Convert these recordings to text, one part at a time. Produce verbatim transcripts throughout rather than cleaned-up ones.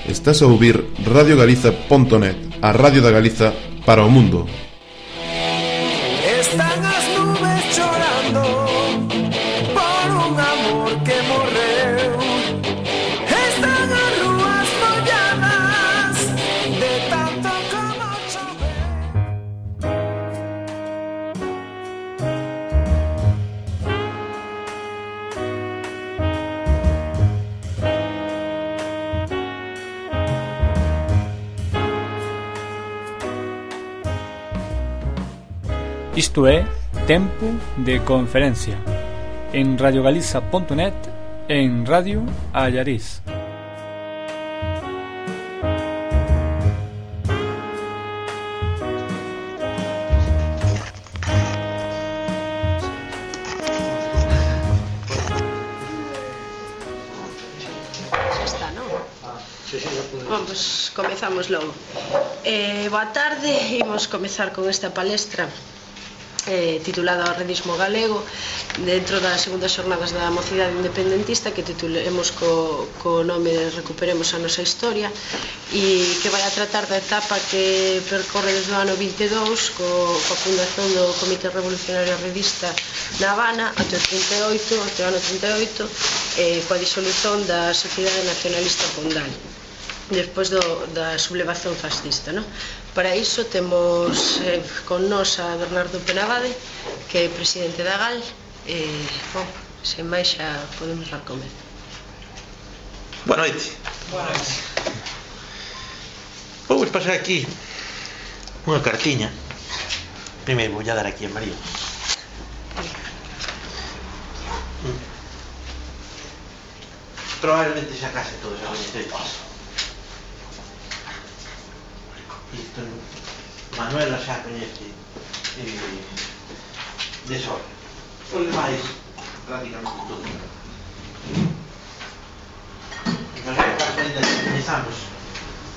Estás a ouvir radio galiza punto net, a radio da Galiza para o mundo. Están as nubes chorando por un amor que morreu. Están as rúas molladas de tanto como chove. Isto é Tempo de Conferencia en radio galiza punto net e en Radio Allariz. Xa está, non? Bom, pois comezamos logo. Eh, boa tarde, imos comezar con esta palestra eh, titulada O Redismo Galego dentro das segundas xornadas da mocidade independentista, que titulemos co, co nome de Recuperemos a Nosa Historia, e que vai a tratar da etapa que percorre desde o ano vinte e dous co, coa fundación do Comité Revolucionario Redista na Habana até o trinta e oito, até o ano trinta e oito, eh, coa disolución da Sociedade Nacionalista Pondal despois do, da sublevación fascista, no? Para iso temos eh, con nos a Bernardo Penabade, que é presidente da GAL, e, bom, sen máis xa podemos dar comer. Boa noite. Boa noite. Vou vos pasar aquí unha cartiña. Primeiro vou a dar aquí a María. Probablemente xa case todos a coñecedes. Isto Manuela xa coñece eh, de sol. Os demais prácticamente todo. Mas que caso ainda que coñezamos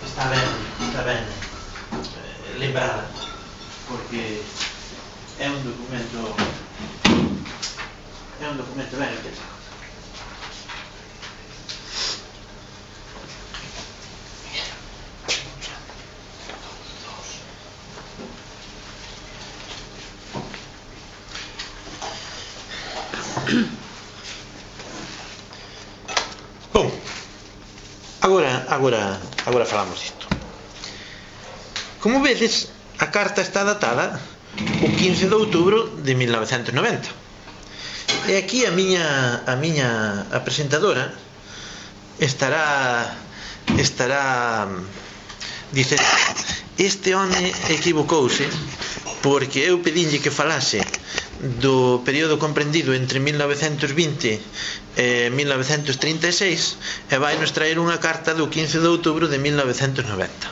está ben, está ben eh, lembrada, porque é un documento é un documento ben pensado. Bom, agora, agora, agora falamos disto. Como vedes, a carta está datada o quince de outubro de mil novecentos e noventa. E aquí a miña, a miña a presentadora estará estará dicendo: este home equivocouse porque eu pedinlle que falase do período comprendido entre mil novecentos vinte e mil novecentos trinta e seis e vai nos traer unha carta do quince de outubro de mil novecentos e noventa.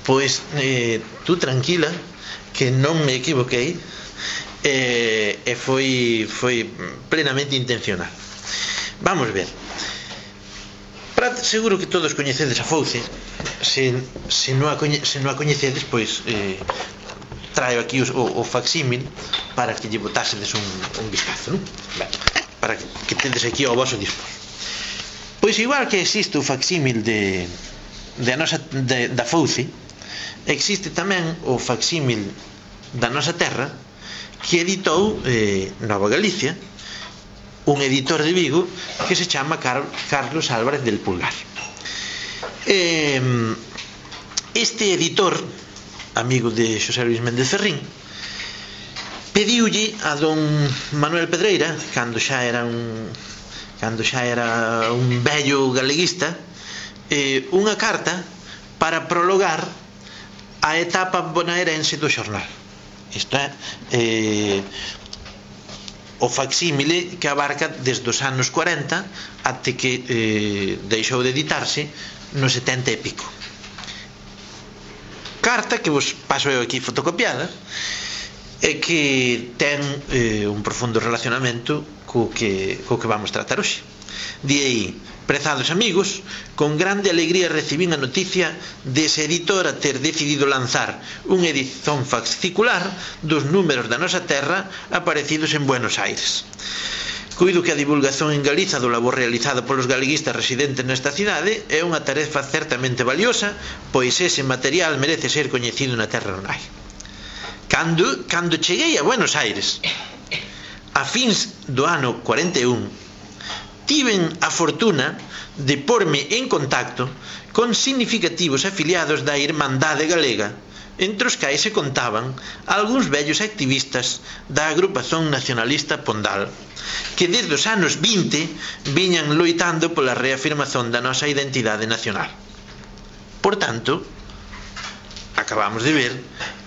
Pois eh, tú tranquila, que non me equivoquei, e, e foi, foi plenamente intencional. Vamos ver. Pra, seguro que todos coñecedes a Fouce. Se, se, non, a coñe, se non a coñecedes, pois eh, traio aquí o, o facsímil para que lle botásedes un, un vistazo, non? Ben, para que, que tedes aquí ao vosso dispor. Pois igual que existe o facsímil de, de a nosa, de, da Fouce, existe tamén o facsímil da nosa terra que editou eh, Nova Galicia, un editor de Vigo que se chama Car Carlos Álvarez del Pulgar. Eh, este editor, amigo de Xosé Luis Méndez Ferrín, pediulle a don Manuel Pedreira, cando xa era un cando xa era un vello galeguista, eh, unha carta para prologar a etapa bonaerense do xornal. Isto é eh, o facsímile que abarca desde os anos cuarenta até que eh, deixou de editarse no setenta e pico. Carta que vos paso eu aquí fotocopiada e que ten eh, un profundo relacionamento co que, co que vamos tratar hoxe. Di aí: prezados amigos, con grande alegría recibín a noticia dese editor a ter decidido lanzar unha edición fascicular dos números da nosa terra aparecidos en Buenos Aires. Coido que a divulgación en Galiza do labor realizado polos galeguistas residentes nesta cidade é unha tarefa certamente valiosa, pois ese material merece ser coñecido na terra nai. Cando, cando cheguei a Buenos Aires, a fins do ano cuarenta e un, tiven a fortuna de porme en contacto con significativos afiliados da Irmandade Galega, entre os quais se contaban algúns vellos activistas da agrupación nacionalista Pondal, que desde os anos vinte viñan loitando pola reafirmación da nosa identidade nacional. Por tanto, acabamos de ver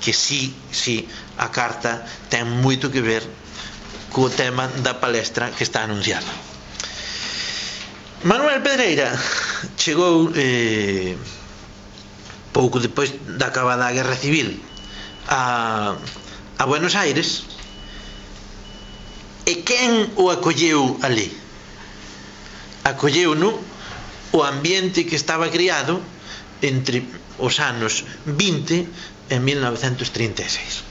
que sí, sí, a carta ten moito que ver co tema da palestra que está anunciada. Manuel Pedreira chegou eh, pouco depois da acabada a Guerra Civil a, a Buenos Aires. E quen o acolleu ali? Acolleu-no o ambiente que estaba criado entre os anos vinte e mil novecentos trinta e seis.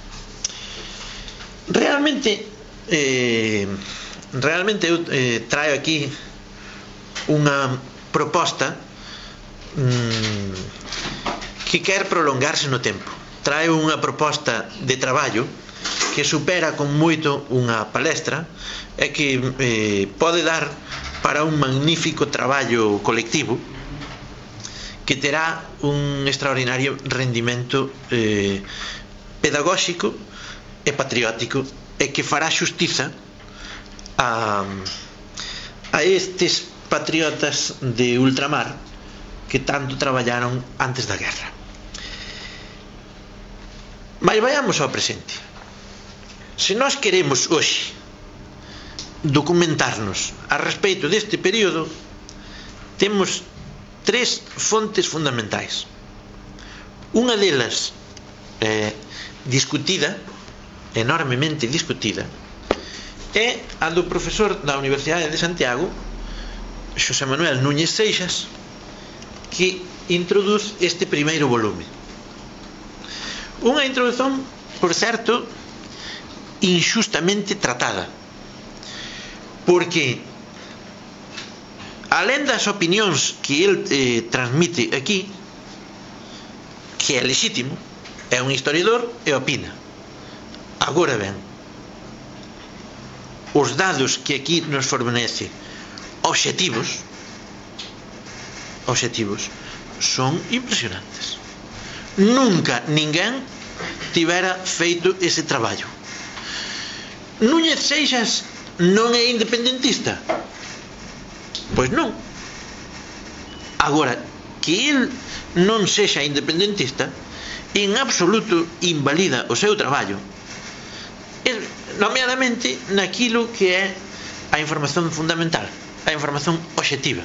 Realmente eh, realmente eu eh, traio aquí unha proposta mmm, que quer prolongarse no tempo. Trae unha proposta de traballo que supera con moito unha palestra e que eh, pode dar para un magnífico traballo colectivo que terá un extraordinario rendimento eh, pedagóxico e patriótico e que fará xustiza a, a estes patriotas de ultramar que tanto traballaron antes da guerra. Mas vayamos ao presente. Se nós queremos hoxe documentarnos a respeito deste período, temos tres fontes fundamentais. Unha delas eh, discutida, enormemente discutida, é a do profesor da Universidade de Santiago, Xosé Manuel Núñez Seixas, que introduz este primeiro volume. Unha introdución, por certo, injustamente tratada, porque alén das opinións que el eh, transmite aquí, que é lexítimo, é un historiador e opina. Agora ben, os dados que aquí nos fornece obxectivos obxectivos son impresionantes. Nunca ninguén tivera feito ese traballo. Núñez Seixas non é independentista? Pois non. Agora, que el non sexa independentista en absoluto invalida o seu traballo, nomeadamente naquilo que é a información fundamental, a información obxectiva,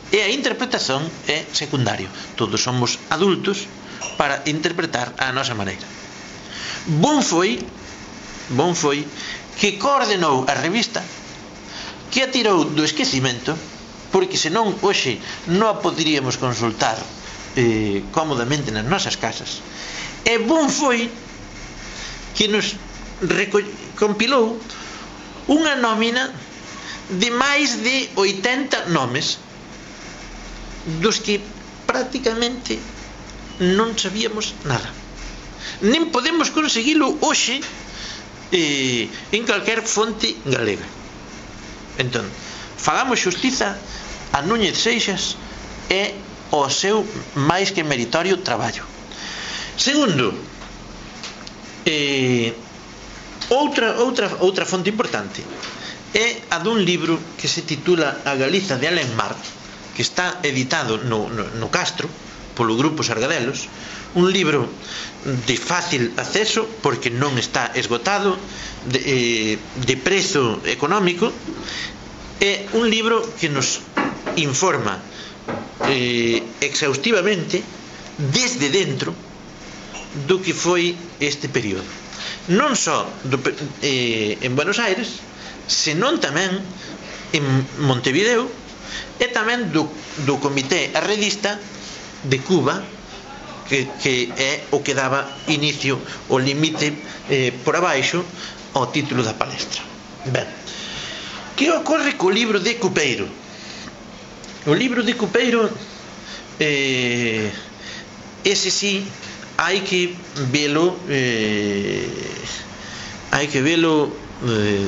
e a interpretación é secundario. Todos somos adultos para interpretar a nosa maneira. Bon foi bon foi que coordenou a revista, que a tirou do esquecimento, porque senón hoxe non a poderíamos consultar eh, cómodamente nas nosas casas. E bon foi que nos compilou unha nómina de máis de oitenta nomes, dos que prácticamente non sabíamos nada, nin podemos conseguilo hoxe eh, en calquer fonte galega. Entón, fagamos xustiza a Núñez Seixas e o seu máis que meritorio traballo. Segundo, eh, outra, outra, outra fonte importante é a dun libro que se titula A Galiza de Alén Mar, que está editado no, no, no Castro polo grupo Sargadelos, un libro de fácil acceso porque non está esgotado, de, eh, de prezo económico. É un libro que nos informa eh, exhaustivamente desde dentro do que foi este período, non só do, eh, en Buenos Aires, senón tamén en Montevideo, e tamén do, do Comité Arredista de Cuba, que, que é o que daba inicio, o limite eh, por abaixo ao título da palestra. Ben, Que ocorre co libro de Cupeiro? O libro de Cupeiro, eh, ese sí, hai que velo, eh, hai que velo eh,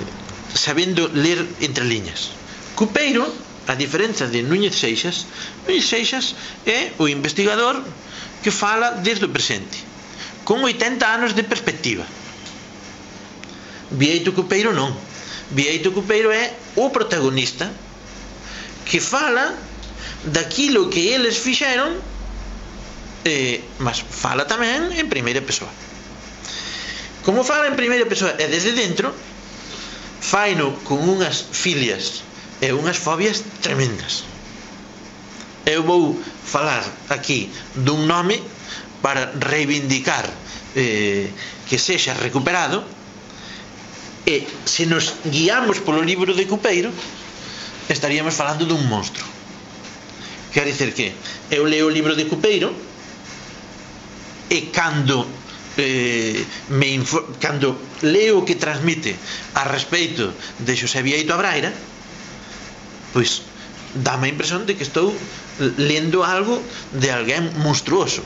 sabendo ler entre liñas. Cupeiro, a diferenza de Núñez Seixas, Núñez Seixas é o investigador que fala desde o presente, con oitenta anos de perspectiva. Bieito Cupeiro non. Bieito Cupeiro é o protagonista que fala daquilo que eles fixeron, eh, mas fala tamén en primeira persoa. Como fala en primeira persoa e desde dentro, faino con unhas filias e unhas fobias tremendas. Eu vou falar aquí dun nome para reivindicar eh, que sexa recuperado. E se nos guiamos polo libro de Cupeiro, estaríamos falando dun monstro. Quer dizer que eu leo o libro de Cupeiro e cando eh, me cando leo o que transmite a respeito de Xosé Bieito Abraira, pois dame a impresión de que estou lendo algo de alguén monstruoso,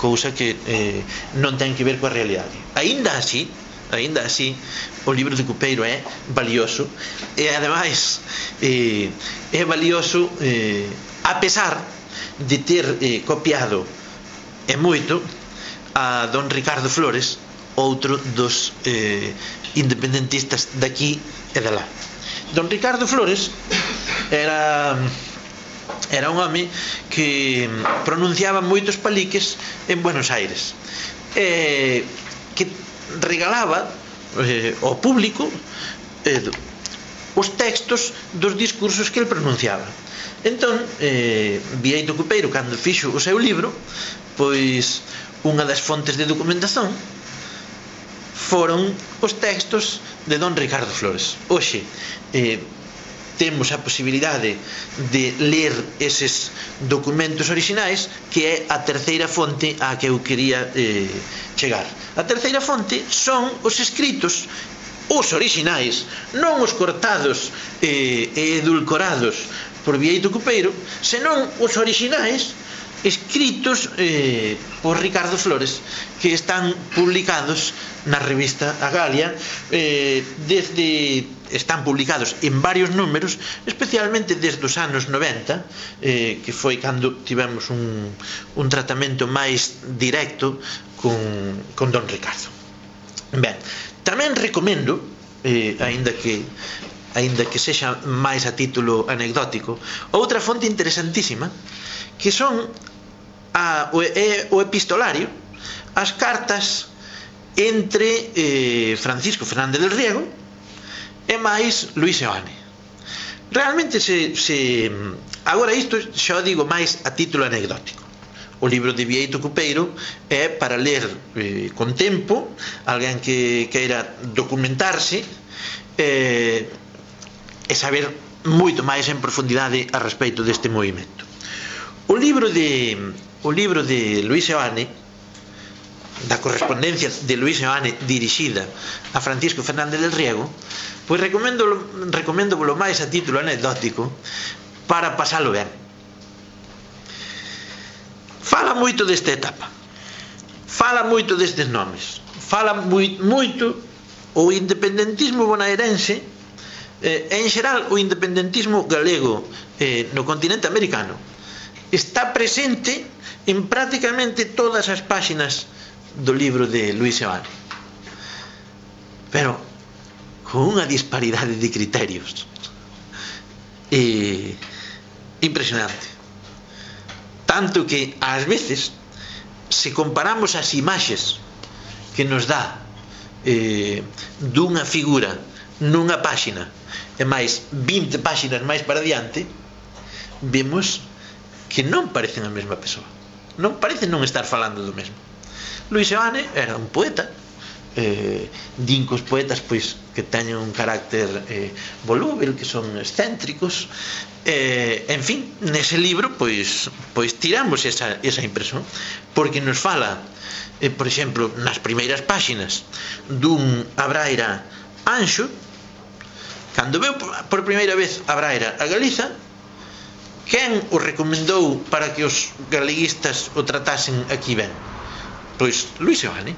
cousa que eh, non ten que ver coa realidade. Aínda así, aínda así, o libro de Cupeiro é valioso e ademais eh, é valioso eh, a pesar de ter eh, copiado e moito a don Ricardo Flores, outro dos eh, independentistas daqui e de lá. Don Ricardo Flores era era un home que pronunciaba moitos paliques en Buenos Aires, eh, que regalaba eh, ao público eh, os textos dos discursos que el pronunciaba. Entón, eh, Bieito Cupeiro, cando fixo o seu libro, pois unha das fontes de documentación foron os textos de don Ricardo Flores. Hoxe eh, temos a posibilidade de ler eses documentos orixinais, que é a terceira fonte á que eu quería eh, chegar. A terceira fonte son os escritos, os orixinais, non os cortados eh, e edulcorados por Bieito Cupeiro, senón os orixinais escritos eh, por Ricardo Flores, que están publicados na revista A Galia, eh, desde están publicados en varios números, especialmente desde os anos noventa, eh, que foi cando tivemos un, un tratamento máis directo con, con don Ricardo. Ben, tamén recomendo, eh, aínda que aínda que sexa máis a título anecdótico, outra fonte interesantísima, que son a, o, é, o epistolario, as cartas entre eh, Francisco Fernández del Riego e máis Luís Seoane. Realmente se, se agora isto xa o digo máis a título anecdótico. O libro de Bieito Cupeiro é para ler eh, con tempo, alguén que queira documentarse eh, e saber moito máis en profundidade a respeito deste movimento. O libro de o libro de Luís Seoane, da correspondencia de Luís Seoane dirixida a Francisco Fernández del Riego, pois recomendo recomendo polo máis a título anecdótico para pasalo ben. Fala moito desta etapa, fala moito destes nomes, fala moito o independentismo bonaerense, eh, en xeral o independentismo galego eh, no continente americano está presente en prácticamente todas as páxinas do libro de Luís Seoane, pero con unha disparidade de criterios eh, impresionante, tanto que ás veces, se comparamos as imaxes que nos dá eh, dunha figura nunha páxina e máis vinte páxinas máis para diante, vemos que non parecen a mesma persoa, non parecen non estar falando do mesmo. Luís Seoane era un poeta, eh, din que os poetas pois que teñen un carácter eh, volúvel, que son excéntricos, eh, en fin, nese libro pois, pois tiramos esa, esa impresión, porque nos fala eh, por exemplo, nas primeiras páxinas dun Abraira anxo, Cando veu por primeira vez a Braira a Galiza, quen o recomendou para que os galeguistas o tratasen aquí ben? Pois Luis Seoane.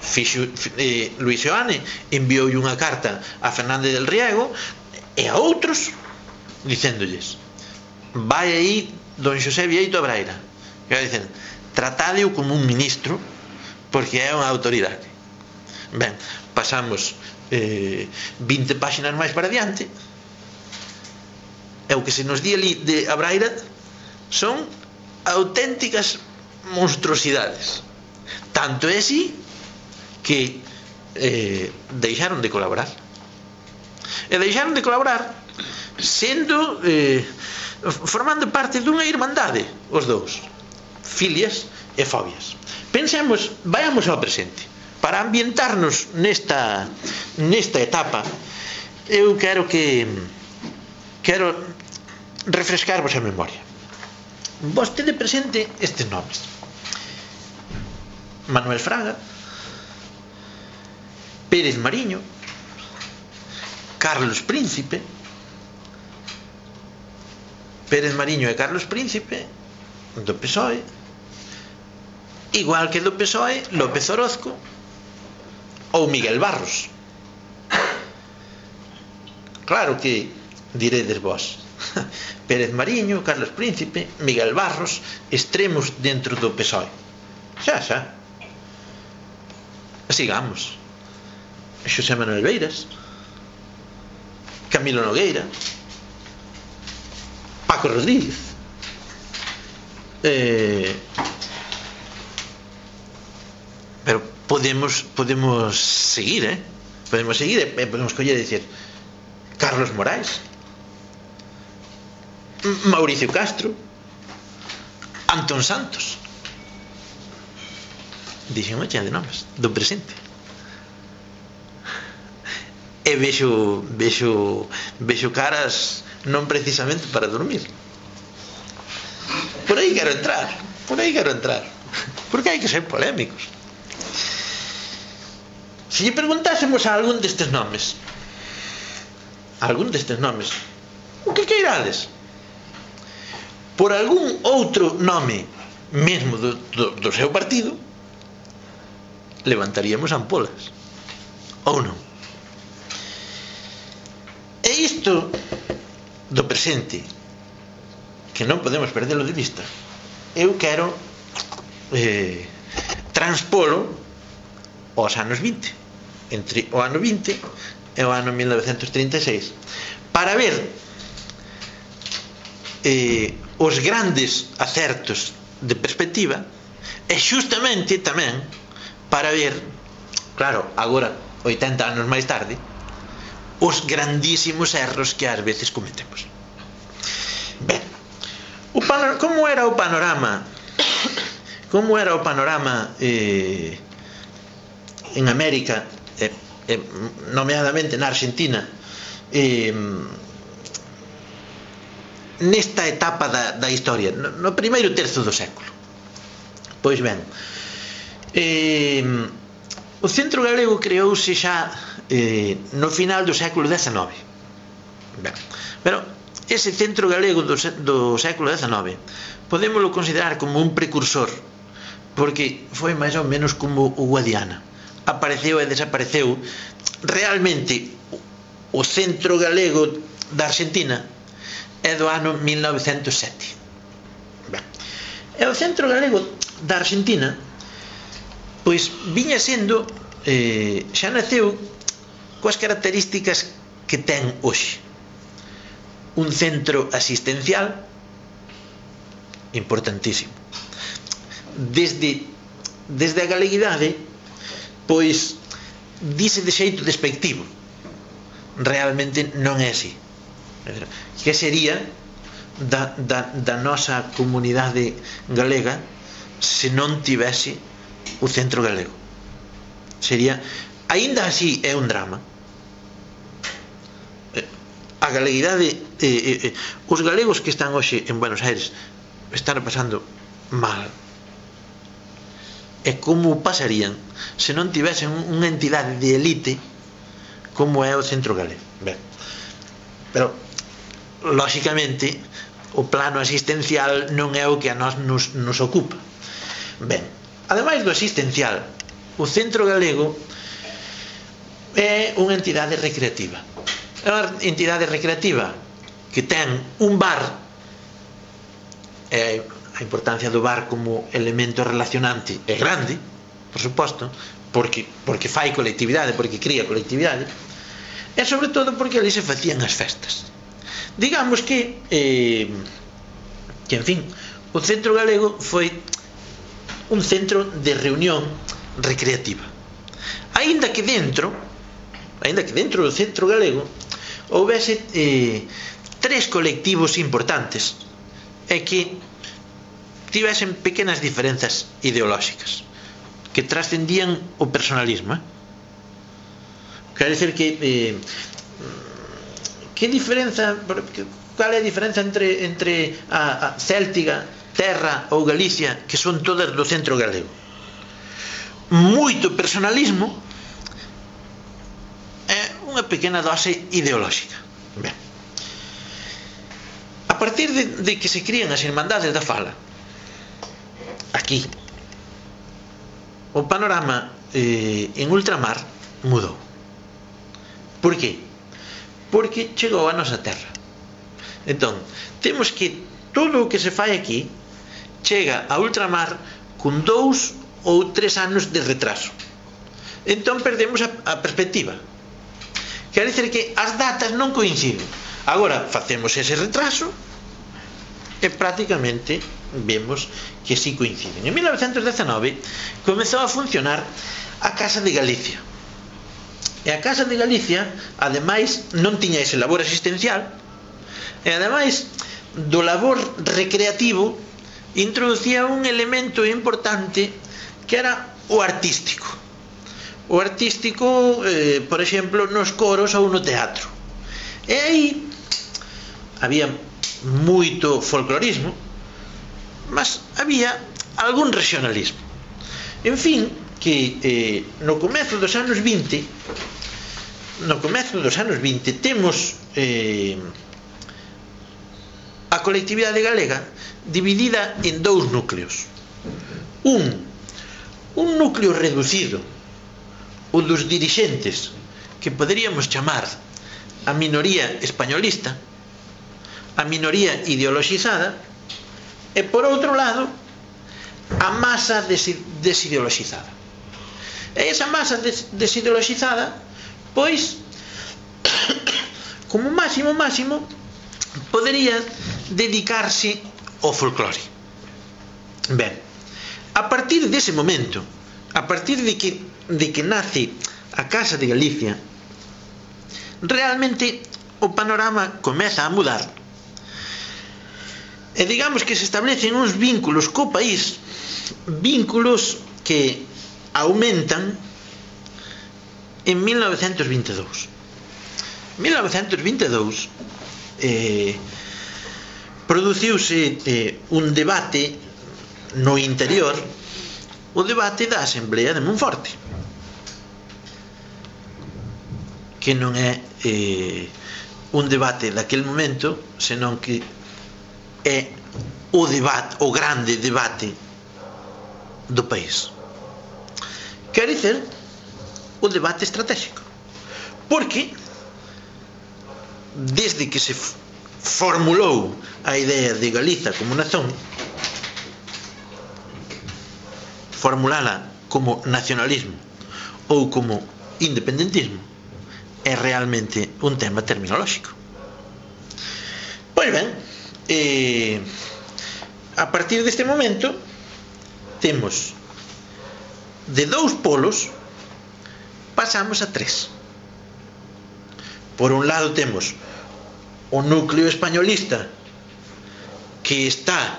Fixo, eh, Luis Seoane envioulle unha carta a Fernández del Riego e a outros dicéndolles: vai aí don Xosé Vieito a Braira, que vai dicendo, tratádeo como un ministro porque é unha autoridade. Ben, pasamos eh, vinte páxinas máis para diante e o que se nos di ali de a Braira son auténticas monstruosidades. Tanto é así que eh, deixaron de colaborar. E deixaron de colaborar sendo eh, formando parte dunha irmandade, os dous, filias e fobias. Pensemos, vayamos ao presente. Para ambientarnos nesta nesta etapa, eu quero que quero refrescarvos a memoria. Vostede presente estes nomes: Manuel Fraga, Pérez Mariño, Carlos Príncipe. Pérez Mariño e Carlos Príncipe do P S O E, igual que do P S O E López Orozco ou Miguel Barros. Claro que diredes vós, Pérez Mariño, Carlos Príncipe, Miguel Barros, extremos dentro do P S O E. Xa, xa. Sigamos. Xosé Manuel Beiras, Camilo Nogueira, Paco Rodríguez, eh, pero podemos podemos seguir, eh? Podemos seguir e podemos coller e dicir Carlos Morais, Mauricio Castro, Antón Santos. Dixen unha chea de nomes do presente. E vexo vexo vexo caras non precisamente para dormir. Por aí quero entrar, por aí quero entrar, porque hai que ser polémicos. Se lle preguntásemos a algún destes nomes, a algún destes nomes, o que queirades, por algún outro nome mesmo do, do, do seu partido, levantaríamos ampolas, ou non? E isto do presente, que non podemos perdelo de vista, eu quero eh, transpolo aos anos vinte, entre o ano vinte e o ano mil novecentos trinta e seis, para ver eh, os grandes acertos de perspectiva e xustamente tamén para ver, claro, agora oitenta anos máis tarde, os grandísimos erros que ás veces cometemos. Ben, o panor- como era o panorama como era o panorama eh, en América, eh, eh, nomeadamente na Argentina, eh, nesta etapa da, da historia, no, no primeiro terzo do século? Pois ben, eh, o Centro Galego creouse xa eh, no final do século dezenove. Ben, pero ese Centro Galego do, do século dezenove podémoslo considerar como un precursor, porque foi máis ou menos como o Guadiana, apareceu e desapareceu. Realmente o Centro Galego da Argentina é do ano mil novecentos e sete. Ben, e o Centro Galego da Argentina pois viña sendo eh, xa naceu coas características que ten hoxe: un centro asistencial importantísimo. Desde desde a galeguidade pois dice de xeito despectivo, realmente non é así. Que sería da, da, da nosa comunidade galega se non tivese o Centro Galego? Sería, aínda así é un drama. A galeguidade, eh, eh, os galegos que están hoxe en Buenos Aires están pasando mal. E como pasarían se non tivesen unha entidade de elite como é o Centro Galego. Ben, pero lóxicamente o plano asistencial non é o que a nós nos, nos ocupa. Ben, ademais do asistencial, o Centro Galego é unha entidade recreativa. É unha entidade recreativa que ten un bar, e a importancia do bar como elemento relacionante é grande, por suposto, porque, porque fai colectividade, porque cría colectividade, e sobre todo porque ali se facían as festas. Digamos que, eh, que, en fin, o Centro Galego foi un centro de reunión recreativa. Aínda que dentro, aínda que dentro do Centro Galego houvese eh, tres colectivos importantes e que tivesen pequenas diferenzas ideolóxicas que trascendían o personalismo, eh? Quer dizer que eh, que diferenza, cal é a diferenza entre, entre a, a Céltiga, Terra ou Galicia, que son todas do Centro Galego? Moito personalismo e unha pequena dose ideolóxica. Ben, a partir de, de que se crían as Irmandades da Fala aquí, o panorama eh, en ultramar mudou. Por que? Porque chegou a nosa terra. Entón, temos que todo o que se fai aquí chega a ultramar con dous ou tres anos de retraso. Entón perdemos a, a perspectiva. Quer dizer que as datas non coinciden. Agora facemos ese retraso e prácticamente vemos que si coinciden. En mil novecentos dezenove comezou a funcionar a Casa de Galicia. E a Casa de Galicia, ademais, non tiña ese labor asistencial, e ademais do labor recreativo introducía un elemento importante que era o artístico. O artístico, eh, por exemplo, nos coros ou no teatro. E aí había moito folclorismo, mas había algún regionalismo. En fin, que eh, no comezo dos anos vinte, no comezo dos anos vinte temos eh, a colectividade galega dividida en dous núcleos. Un, un núcleo reducido, o dos dirixentes, que poderíamos chamar a minoría españolista, a minoría ideoloxizada, e por outro lado a masa desideoloxizada. E esa masa desideoloxizada, pois, como máximo máximo podería dedicarse ao folclore. Ben, a partir dese momento, a partir de que, de que nace a Casa de Galicia, realmente o panorama comeza a mudar. E digamos que se establecen uns vínculos co país, vínculos que aumentan en mil novecentos vinte e dous. mil novecentos vinte e dous eh, produciuse eh, un debate no interior, o debate da Asamblea de Monforte, que non é eh, un debate daquel momento, senón que é o debate, o grande debate do país. Quer dizer, o debate estratégico. Porque desde que se formulou a idea de Galiza como nación, formulala como nacionalismo ou como independentismo, é realmente un tema terminolóxico. Pois ben, eh, a partir deste momento temos de dous polos pasamos a tres. Por un lado temos o núcleo españolista, que está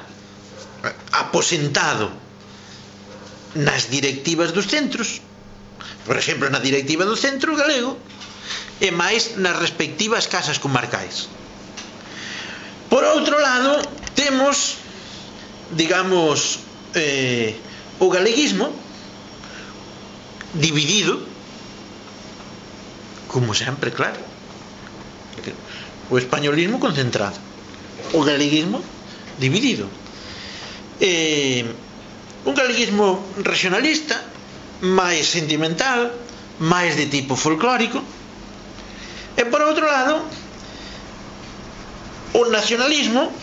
aposentado nas directivas dos centros, por exemplo na directiva do Centro Galego, e máis nas respectivas casas comarcais. Por outro lado temos, digamos, eh, o galeguismo dividido como sempre, claro. O españolismo concentrado, o galeguismo dividido. Eh, un galeguismo regionalista, máis sentimental, máis de tipo folclórico, e por outro lado o nacionalismo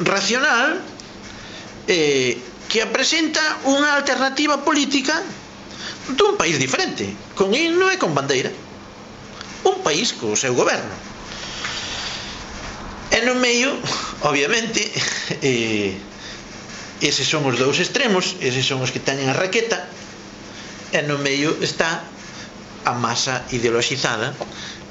racional, eh, que apresenta unha alternativa política dun país diferente, con himno e con bandeira, un país co seu goberno. E no medio, obviamente, eh, eses son os dous extremos, eses son os que teñen a raqueta, e no medio está a masa ideoloxizada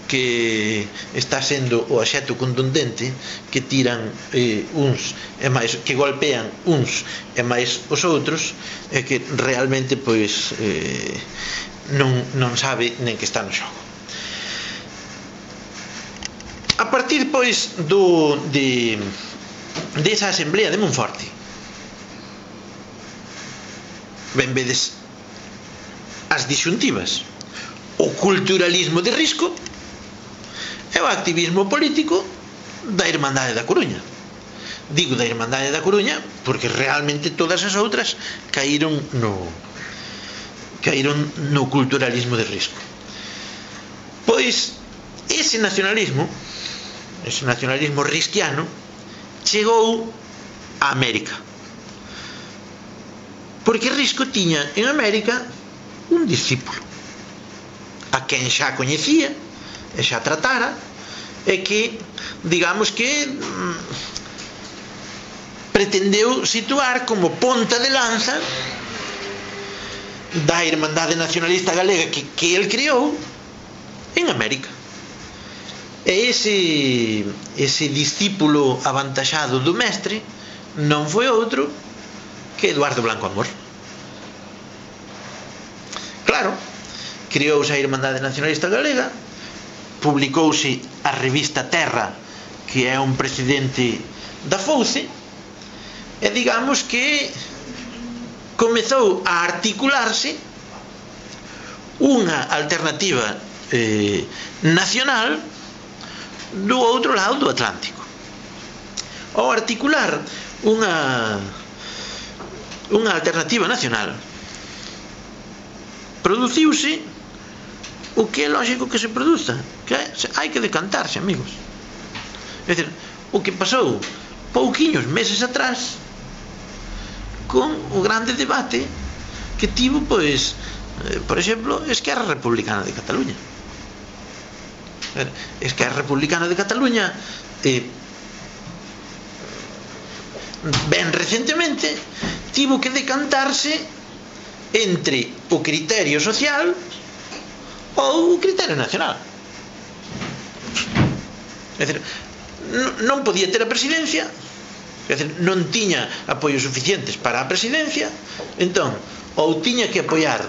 que está sendo o axeto contundente que tiran eh, uns e máis, que golpean uns e máis os outros, e que realmente pois eh, non, non sabe nen que está no xogo. A partir pois do de desa asamblea de Monforte, ben vedes as disxuntivas: o culturalismo de risco e o activismo político da Irmandade da Coruña. Digo da Irmandade da Coruña porque realmente todas as outras caíron no caíron no culturalismo de risco. Pois ese nacionalismo, ese nacionalismo risquiano, chegou a América, porque Risco tiña en América un discípulo a quen xa coñecía e xa tratara, e que, digamos que mm, pretendeu situar como ponta de lanza da Irmandade Nacionalista Galega que, que el criou en América. E ese ese discípulo avantaxado do mestre non foi outro que Eduardo Blanco Amor. Claro, criouse a Irmandade Nacionalista Galega, publicouse a revista Terra, que é un precedente da Fouce, e digamos que comezou a articularse unha alternativa eh, nacional do outro lado do Atlántico. Ao articular unha unha alternativa nacional, produciuse o que é lógico que se produza, que hai que decantarse, amigos. É dicir, o que pasou pouquiños meses atrás con o grande debate que tivo, pois, eh, por exemplo, Esquerra Republicana de Cataluña. Esquerra Republicana de Cataluña eh, ben recentemente tivo que decantarse entre o criterio social ou o criterio nacional. É dicir, non podía ter a presidencia, é dicir, non tiña apoios suficientes para a presidencia, entón ou tiña que apoiar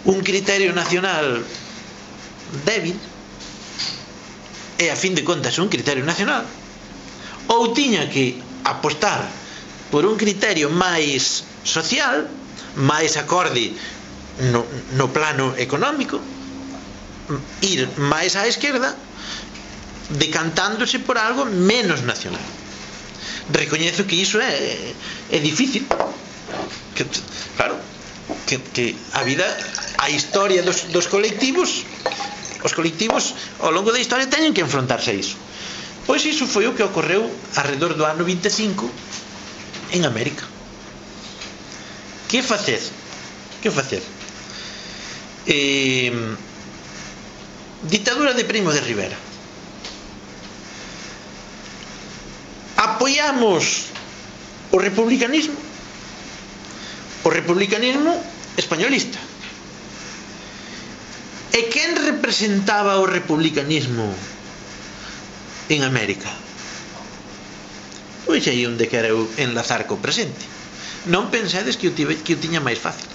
un criterio nacional débil, e a fin de contas un criterio nacional, ou tiña que apostar por un criterio máis social, máis acorde no, no plano económico, ir máis á esquerda, decantándose por algo menos nacional. Recoñezo que iso é, é difícil, que, claro, que, que a vida, a historia dos, dos colectivos, os colectivos ao longo da historia teñen que enfrontarse a iso. Pois iso foi o que ocorreu alrededor do ano vinte e cinco en América. Que facer? Que facer? Eh, ditadura de Primo de Rivera. Apoiamos o republicanismo, o republicanismo españolista. E quen representaba o republicanismo en América? Pois aí onde quero enlazar co presente. Non pensedes que o, tive, que o tiña máis fácil.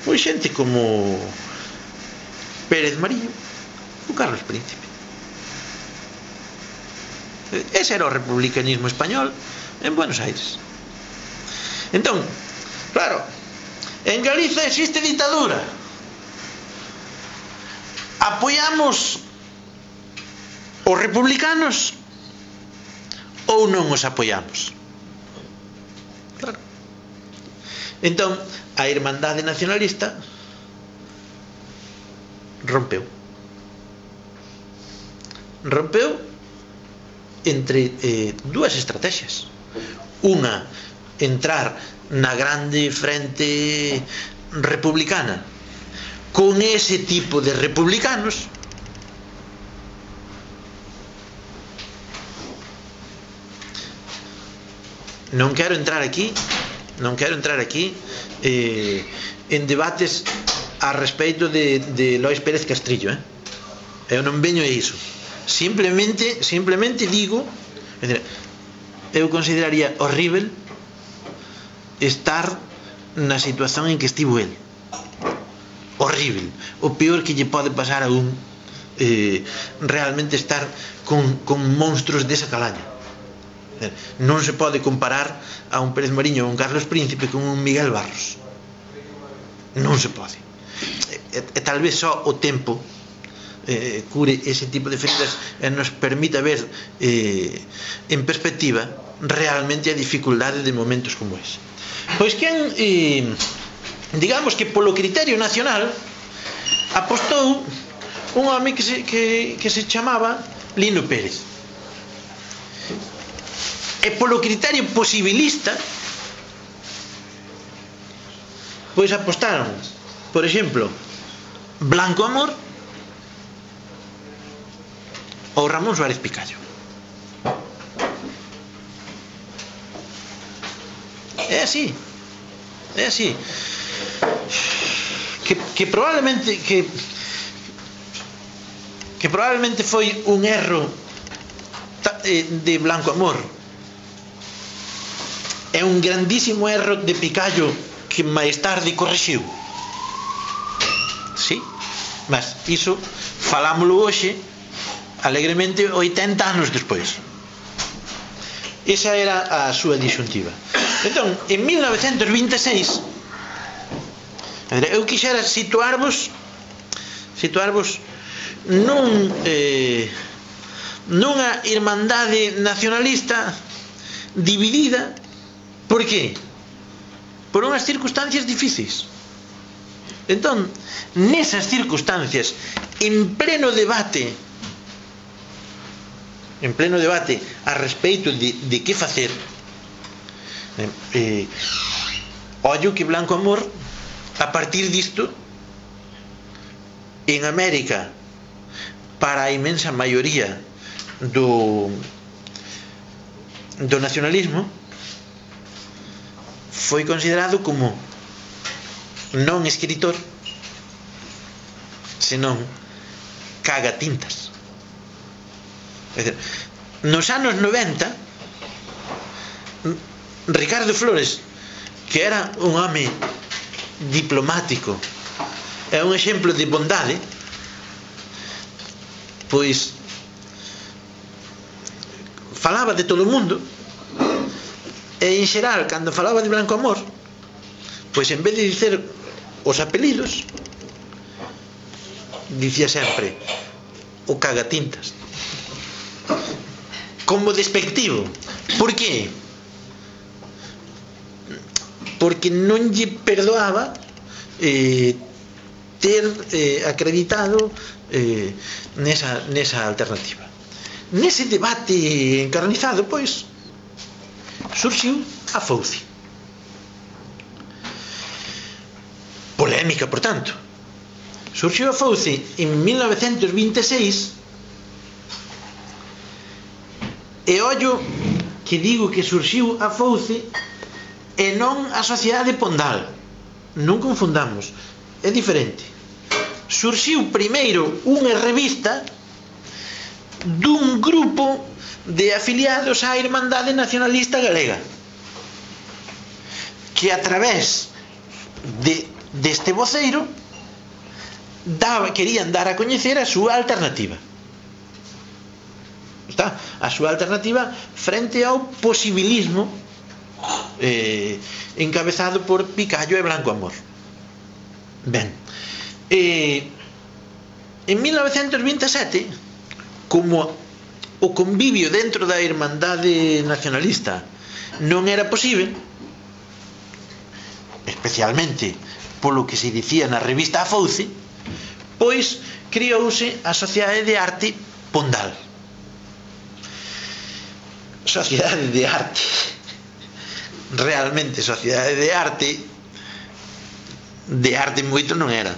Pois xente como Pérez Marillo ou Carlos Príncipe. Ese era o republicanismo español en Buenos Aires. Entón, claro, En Galiza existe ditadura. Apoiamos os republicanos ou non os apoiamos? Claro. Entón, a Irmandade Nacionalista rompeu. Rompeu entre eh, dúas estrategias. Unha, entrar na grande frente republicana con ese tipo de republicanos, non quero entrar aquí non quero entrar aquí eh, en debates a respeito de, de Lois Pérez Castrillo, eh? Eu non veño a iso, simplemente simplemente digo, eu consideraría horrível estar na situación en que estivo el. Horrível, o peor que lle pode pasar a un eh, realmente estar con, con monstruos desa calaña. Non se pode comparar a un Pérez Mariño ou un Carlos Príncipe con un Miguel Barros, non se pode, e, e tal vez só o tempo eh, cure ese tipo de feridas e nos permita ver eh, en perspectiva realmente a dificultade de momentos como ese. Pois quen eh, digamos que polo criterio nacional apostou un home que se, que, que se chamaba Lino Pérez, e polo criterio posibilista pois apostaron, por exemplo, Blanco Amor ou Ramón Suárez Picallo. É así, é así. Que, que probablemente que que probablemente foi un erro de Blanco Amor, é un grandísimo erro de Picallo que máis tarde corrixiu. Sí, mas iso falámoslo hoxe alegremente oitenta anos despois. Esa era a súa disyuntiva. Entón, en mil novecentos vinte e seis eu quixera situarvos situarvos nun eh, nunha irmandade nacionalista dividida. Por qué? Por unhas circunstancias difíciles. Entón, nesas circunstancias, en pleno debate en pleno debate a respeito de, de que facer, eh, eh, ollo que Blanco Amor, a partir disto, en América, para a inmensa maioría do do nacionalismo, foi considerado como non escritor, senón cagatintas. É dicir, nos anos noventa, Ricardo Flores, que era un home diplomático e un exemplo de bondade, pois falaba de todo o mundo, e en xeral, cando falaba de Blanco Amor, pois en vez de dicer os apelidos, dicía sempre o cagatintas, como despectivo. Por qué? Porque non lle perdoaba eh, ter eh, acreditado eh, nesa, nesa alternativa. Nese debate encarnizado, pois, surxiu a Fouci. Polémica, por tanto. Surxiu a Fouci en mil novecentos vinte e seis, e ollo que digo que surxiu a Fouci e non a Sociedade Pondal. Non confundamos, é diferente. Surxiu primeiro unha revista dun grupo de afiliados á Irmandade Nacionalista Galega, que a través de, deste voceiro daba, querían dar a coñecer a súa alternativa. Está? A súa alternativa frente ao posibilismo eh, encabezado por Picallo e Blanco Amor. Ben, eh, en mil novecentos vinte e sete, como o convivio dentro da Irmandade Nacionalista non era posible, especialmente polo que se dicía na revista A Fouce, pois criouse a Sociedade de Arte Pondal. Sociedade de Arte, realmente Sociedade de Arte, de arte moito non era,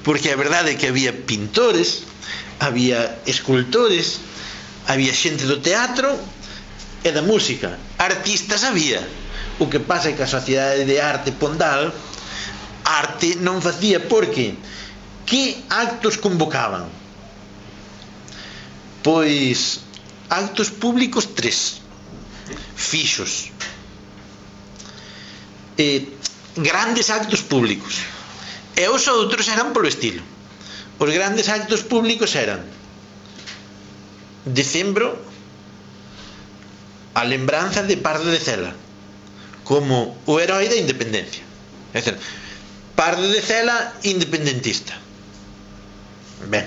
porque a verdade é que había pintores, había escultores, había xente do teatro e da música, artistas había. O que pasa é que a Sociedade de Arte Pondal arte non facía, porque que actos convocaban? Pois actos públicos tres fixos, e grandes actos públicos, e os outros eran polo estilo. Os grandes actos públicos eran decembro, a lembranza de Pardo de Cela como o herói da independencia. É dicir, Pardo de Cela independentista. Ben,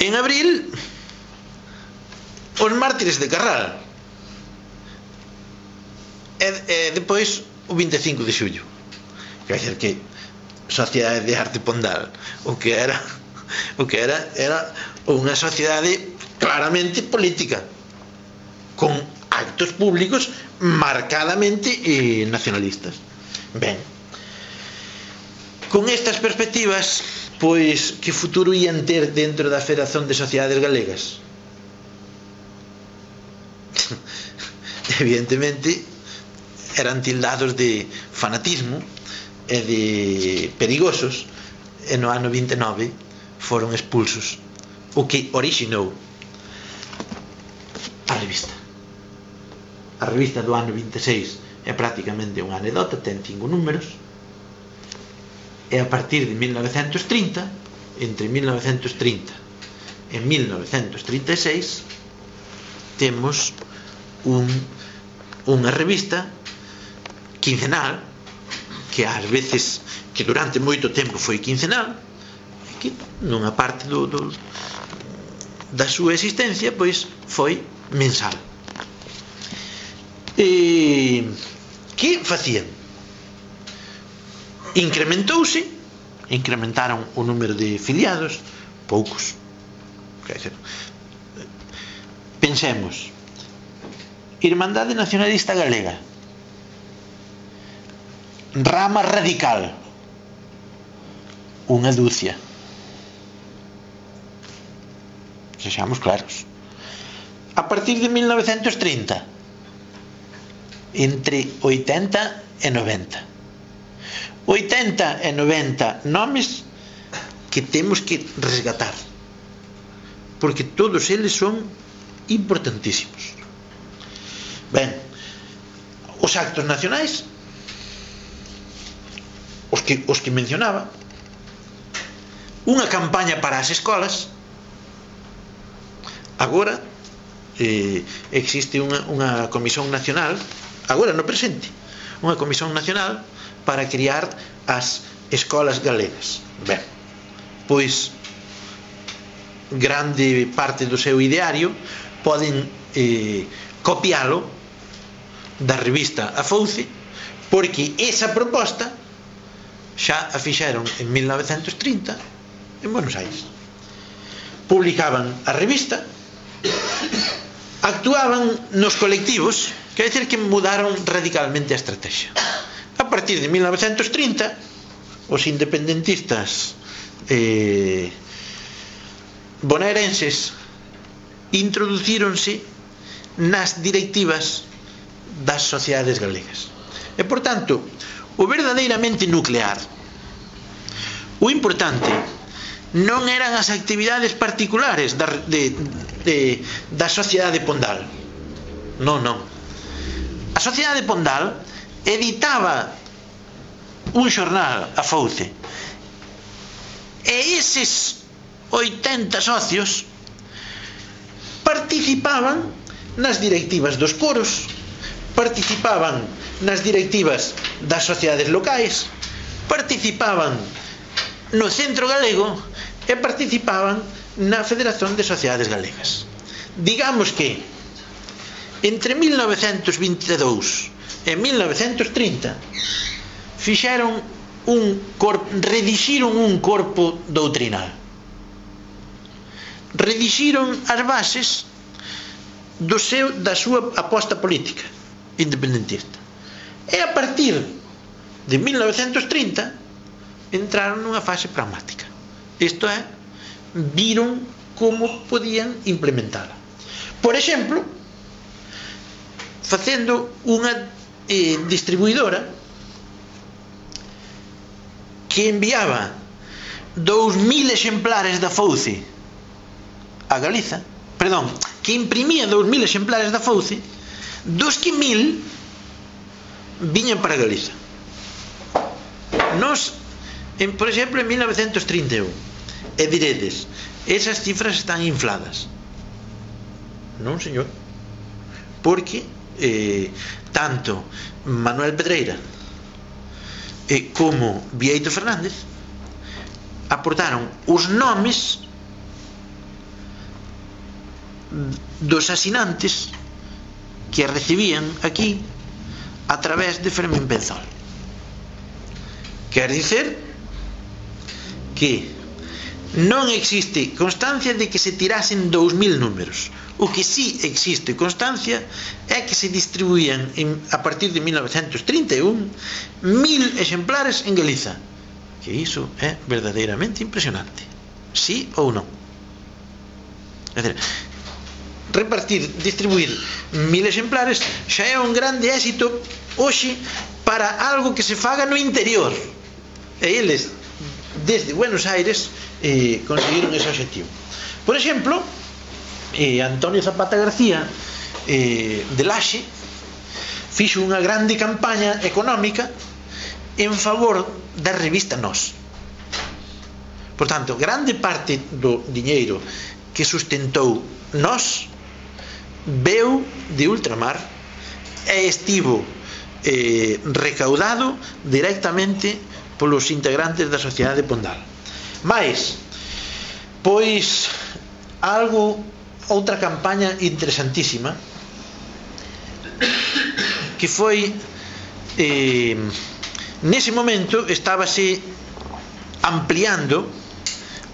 en abril, os mártires de Carral, e, e depois o vinte e cinco de xullo. Quer dizer que Sociedade de Arte Pondal o que era o que era era unha sociedade claramente política, con actos públicos marcadamente eh, nacionalistas. Ben, con estas perspectivas, pois, que futuro ían ter dentro da Federación de Sociedades Galegas? Evidentemente eran tildados de fanatismo e de perigosos, e no ano vinte e nove foron expulsos, o que orixinou a revista. A revista do ano vinte e seis é prácticamente unha anedota, ten cinco números, e a partir de mil novecentos trinta, entre mil novecentos trinta e mil novecentos trinta e seis, temos un, unha revista quincenal, que ás veces, que durante moito tempo foi quincenal, que nunha parte do, do, da súa existencia, pois foi mensal. E que facían? Incrementouse, incrementaron o número de filiados, poucos. Pensemos, Irmandade Nacionalista Galega, rama radical, unha dúcia. Sexamos claros. A partir de mil novecentos trinta, entre oitenta e noventa, oitenta e noventa nomes que temos que resgatar, porque todos eles son importantísimos. Ben, os actos nacionais, os que, os que mencionaba, unha campaña para as escolas. Agora eh, existe unha, unha comisión nacional, agora no presente, unha comisión nacional para criar as escolas galegas. Ben, pois grande parte do seu ideario poden eh, copialo da revista A Fouce, porque esa proposta xa a fixeron en mil novecentos trinta en Buenos Aires. Publicaban a revista, actuaban nos colectivos, quer dizer que mudaron radicalmente a estrategia. A partir de mil novecentos trinta, os independentistas eh, bonaerenses introducíronse nas directivas das sociedades galegas. E, por tanto, o verdadeiramente nuclear, o importante, non eran as actividades particulares da, de, de, da Sociedade Pondal. Non, non. A Sociedade Pondal editaba un xornal, A Fouce, e eses oitenta socios participaban nas directivas dos coros, participaban nas directivas das sociedades locais, participaban no Centro Galego e participaban na Federación de Sociedades Galegas. Digamos que entre mil novecentos vinte e dous e mil novecentos trinta fixeron un corpo, redixiron un corpo doutrinal, redixiron as bases do seu, da súa aposta política independentista, e a partir de mil novecentos trinta entraron nunha fase pragmática, isto é, viron como podían implementala, por exemplo, facendo unha eh, distribuidora que enviaba dous mil exemplares da Fouce a Galiza, perdón, que imprimía dous mil exemplares da Fouce, dos que mil viñan para Galiza. Nos, en, por exemplo, en mil novecentos trinta e un, e diredes, esas cifras están infladas. Non, señor, porque eh, tanto Manuel Pedreira eh, como Vieito Fernández aportaron os nomes dos asinantes que recibían aquí a través de Fermín Penzol. Quer dicer que non existe constancia de que se tirasen dous mil números. O que sí existe constancia é que se distribuían en, a partir de mil novecentos trinta e un mil exemplares en Galiza, que iso é verdadeiramente impresionante. Sí ou non? É dizer, repartir, distribuir mil exemplares xa é un grande éxito hoxe para algo que se faga no interior, e eles desde Buenos Aires eh, conseguiron ese objetivo. Por exemplo, eh, Antonio Zapata García eh, de Laxe fixo unha grande campaña económica en favor da revista Nós. Por tanto, grande parte do diñeiro que sustentou Nós veu de ultramar e estivo eh, recaudado directamente polos integrantes da Sociedade Pondal. Mais, pois, algo, outra campaña interesantísima que foi eh, nese momento estábase ampliando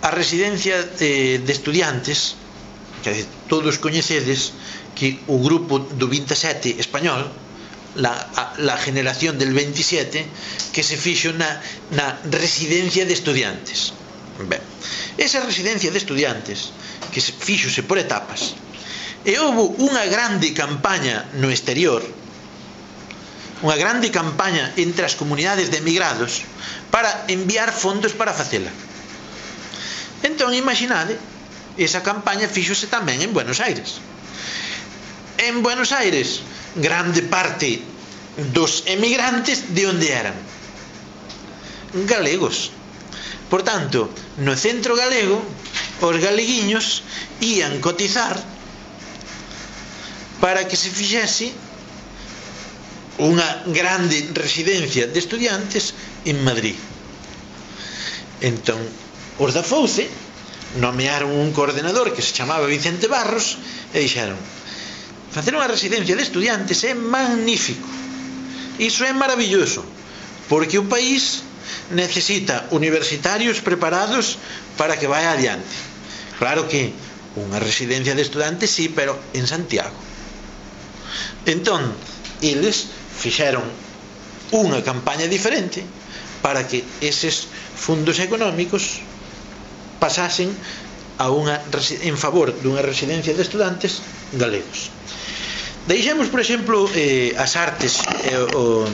a residencia eh, de estudiantes, que todos coñecedes que o grupo do veintisiete español, la, a, la generación del veintisiete, que se fixo na, na residencia de estudiantes. Ben, esa residencia de estudiantes que se fixose por etapas, e houve unha grande campaña no exterior, unha grande campaña entre as comunidades de emigrados para enviar fondos para facela. Entón, imaginade, esa campaña fixose tamén en Buenos Aires. En Buenos Aires, grande parte dos emigrantes de onde eran? Galegos. Por tanto, no Centro Galego, os galeguiños ían cotizar para que se fixese unha grande residencia de estudiantes en Madrid. Entón, os da Fouce nomearon un coordenador que se chamaba Vicente Barros e dixeron: facer unha residencia de estudiantes é magnífico, iso é maravilloso, porque o país necesita universitarios preparados para que vaya adiante. Claro que unha residencia de estudantes sí, pero en Santiago. Entón, eles fixeron unha campaña diferente para que eses fundos económicos pasasen a unha, en favor dunha residencia de estudantes galegos. Deixemos, por exemplo, eh, as artes, eh, o,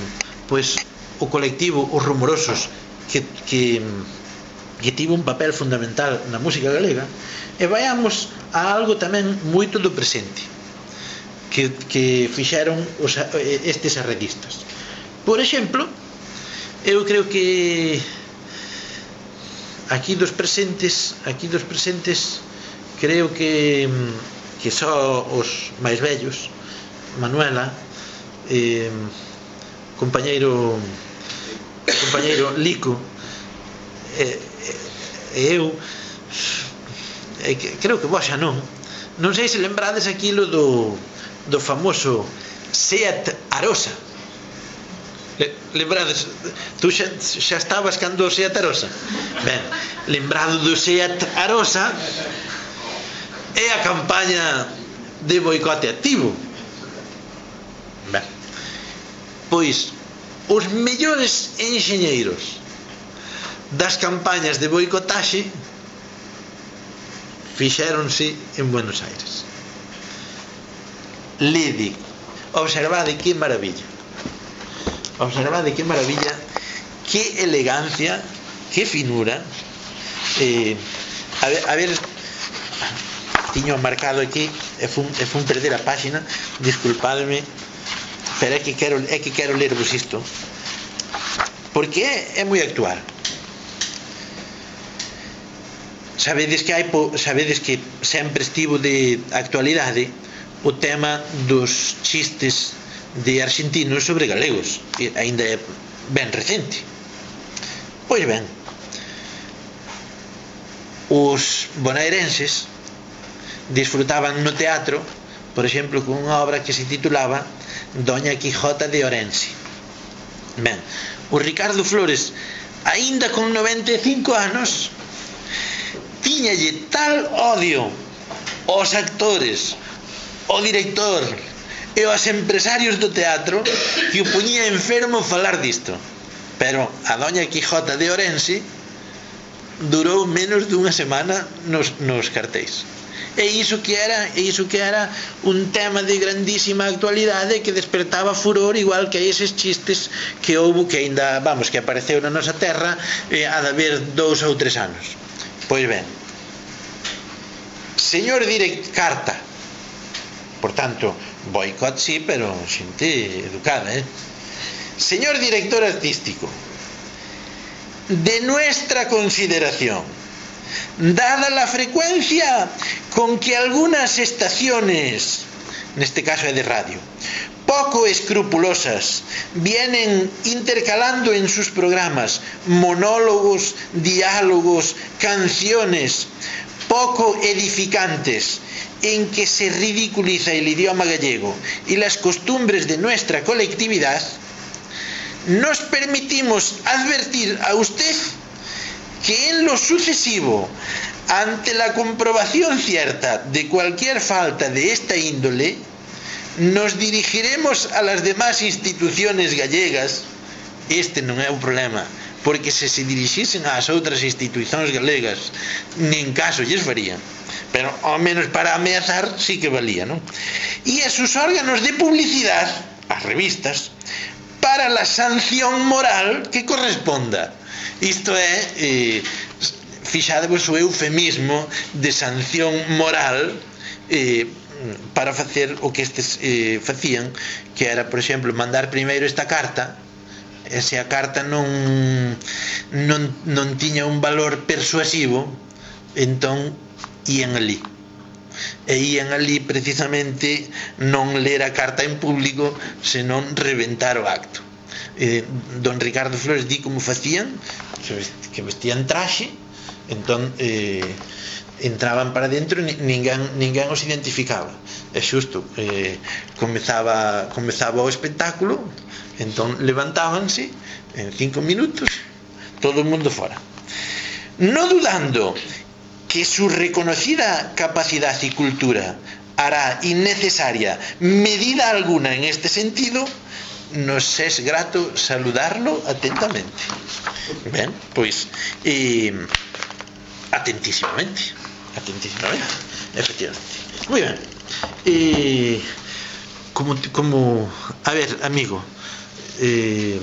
pois, o colectivo Os Rumorosos, que, que, que tivo un papel fundamental na música galega, e vayamos a algo tamén moito do presente que, que fixeron os, estes arredistas. Por exemplo, eu creo que aquí dos presentes, aquí dos presentes, creo que que só os máis vellos, Manuela, eh, compañeiro compañeiro Lico e eh, eh, eu eh, creo que vos xa non non sei se lembrades aquilo do do famoso Seat Arosa. Le, lembrades, tú xa, xa estabas cando o Seat Arosa. Ben, lembrado do Seat Arosa é a campaña de boicote activo. Ben, pois os mellores enxeñeiros das campañas de boicotaxe fixéronse en Buenos Aires. Lede, observade que maravilla, observade que maravilla, que elegancia, que finura. eh, a ver, a ver tiño marcado aquí e fun, e fun perder a páxina, disculpadme, pero é que quero, é que quero lervos isto porque é, é moi actual. Sabedes que hai sabedes que sempre estivo de actualidade o tema dos chistes de argentinos sobre galegos, e aínda é ben recente. Pois ben, os bonaerenses disfrutaban no teatro, por exemplo, con unha obra que se titulaba Doña Quijota de Orense. Ben, o Ricardo Flores, aínda con noventa e cinco anos, tiñalle tal odio aos actores, ao director e aos empresarios do teatro que o poñía enfermo falar disto. Pero a Doña Quijota de Orense durou menos dunha semana nos, nos cartéis. E iso que era, e iso que era un tema de grandísima actualidade que despertaba furor, igual que eses chistes que houbo, que aínda, vamos, que apareceu na nosa terra eh, a de haber dous ou tres anos. Pois ben, señor direct carta, por tanto, boicot sí, pero xente educada, eh? Señor director artístico, de nuestra consideración, dada la frecuencia con que algunas estaciones, neste caso é de radio, poco escrupulosas, vienen intercalando en sus programas monólogos, diálogos, canciones poco edificantes, en que se ridiculiza el idioma gallego y las costumbres de nuestra colectividad, nos permitimos advertir a usted que en lo sucesivo, ante la comprobación cierta de cualquier falta de esta índole, nos dirigiremos a las demás instituciones gallegas. Este non é o problema, porque se se dirixisen ás outras institucións galegas, nin caso lles farían, pero ao menos para ameazar sí que valía, non? E a sus órganos de publicidade, as revistas, para la sanción moral que corresponda. Isto é, eh, fixadevos o eufemismo de sanción moral, eh, para facer o que estes eh, facían, que era, por exemplo, mandar primeiro esta carta, e se a carta non, non, non tiña un valor persuasivo, entón ían ali. E ían ali precisamente non ler a carta en público, senón reventar o acto. Eh, don Ricardo Flores di como facían, que vestían traxe, entón eh, entraban para dentro e ninguén, ninguén os identificaba. É xusto, eh, comezaba, comezaba o espectáculo, entón levantábanse en cinco minutos, todo o mundo fora. No dudando que su reconocida capacidad y cultura hará innecesaria medida alguna en este sentido, nos es grato saludarlo atentamente. Ben, pois eh, atentísimamente atentísimamente, efectivamente. Moi ben, eh, como, como a ver, amigo, eh,